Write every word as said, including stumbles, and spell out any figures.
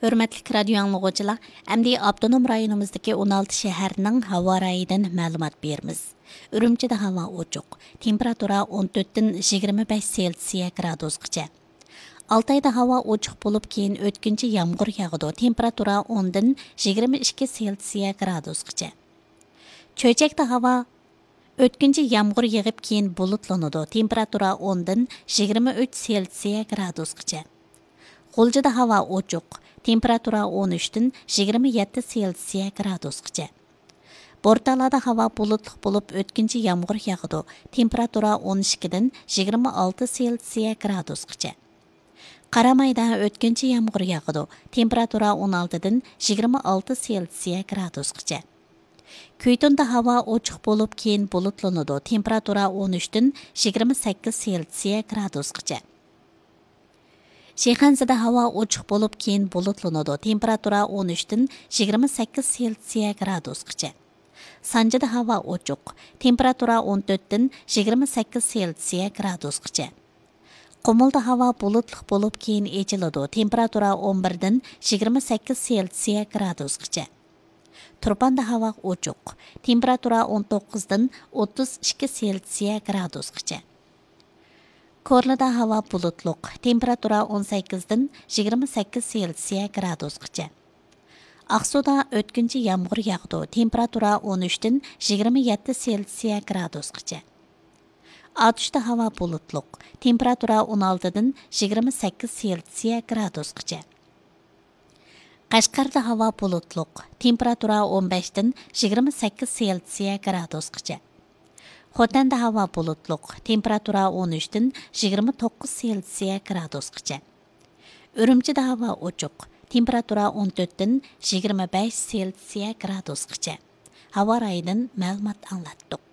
ھۆرمەتلىك رادىيو ئاڭلىغۇچىلار، ئەمدى ئاپتونوم رايونىمىزدىكى ئون ئالتە شەھەرنىڭ ھاۋا رايىدىن مەلۇمات بېرىمىز. ئۈرۈمچىدە ھاۋا ئوچۇق، تېمپېراتۇرا ئون تۆتتىن يىگىرمە بەش سېلسىيە گرادۇسقىچە. ئالتايدا ھاۋا ئوچۇق بولۇپ، كېيىن ئۆتكۈنچى يامغۇر ياغىدۇ، تېمپېراتۇرا ئوندىن يىگىرمە ئىككى سېلسىيە گرادۇسقىچە. چۆچەكتە ھاۋا ئۆتكۈنچى يامغۇر يېغىپ، كېيىن بۇلۇتلىنىدۇ، تېمپېراتۇرا ئوندىن يىگىرمە ئۈچ سېلسىيە گرادۇسقىچە. غۇلجىدا ھاۋا ئوچۇق، تېمپېراتۇرا ئون ئۈچتىن يىگىرمە يەتتە سېلسىيە گرادۇسقىچە. بورتالادا ھاۋا بۇلۇتلۇق بولۇپ، ئۆتكۈنچى يامغۇر ياغىدۇ، تېمپېراتۇرا ئون ئىككىدىن يىگىرمە ئالتە سېلسىيە گرادۇسقىچە. قارامايدا ئۆتكۈنچى يامغۇر ياغىدۇ، تېمپېراتۇرا ئون ئالتىدىن يىگىرمە ئالتە سېلسىيە گرادۇسقىچە. كۈيتۇندا ھاۋا ئوچۇق بولۇپ، كېيىن بۇلۇتلىنىدۇ، تېمپېراتۇرا ئون ئۈچتىن يىگىرمە سەككىز سېلسىيە گرادۇسقىچە. شىخەنزىدە ھاۋا ئوچۇق بولۇپ، كېيىن بۇلۇتلىنىدۇ، تېمپېراتۇرا ئون ئۈچتىن يىگىرمە سەككىز سېلسىيە گرادۇسقىچە. سانجىدا ھاۋا ئوچۇق، تېمپېراتۇرا ئون تۆتتىن يىگىرمە سەككىز سېلسىيە گرادۇسقىچە. قۇمۇلدا ھاۋا بۇلۇتلۇق بولۇپ، كېيىن ئېچىلىدۇ، تېمپېراتۇرا ئون بىردىن يىگىرمە سەككىز سېلسىيە گرادۇسقىچە. تۇرپاندا ھاۋا ئوچۇق، تېمپېراتۇرا ئون توققۇزدىن ئوتتۇز ئىككى سېلسىيە گرادۇسقىچە. كورلىدا ھاۋا بۇلۇتلۇق، تېمپېراتۇرا ئون سەككىزدىن يىگىرمە سەككىز سېلسىيە گرادۇسقىچە. ئاقسۇدا ئۆتكۈنچى يامغۇر ياغىدۇ، تېمپېراتۇرا ئون ئۈچتىن يىگىرمە يەتتە سېلسىيە گرادۇسقىچە. ئاتۇشتا ھاۋا بۇلۇتلۇق، تېمپېراتۇرا ئون ئالتىدىن يىگىرمە سەككىز سېلسىيە گرادۇسقىچە. قەشقەردە ھاۋا بۇلۇتلۇق، تېمپېراتۇرا ئون بەشتىن يىگىرمە سەككىز سېلسىيە گرادۇسقىچە. خوتەندە ھاۋا بۇلۇتلۇق، تېمپېراتۇرا ئون ئۈچتىن يىگىرمە توققۇز سېلسىيە گرادۇسقىچە. ئۈرۈمچىدە ھاۋا ئوچۇق، تېمپېراتۇرا ئون تۆتتىن يىگىرمە بەش سېلسىيە گرادۇسقىچە. ھاۋا رايىدىن مەلۇمات ئاڭلاتتۇق.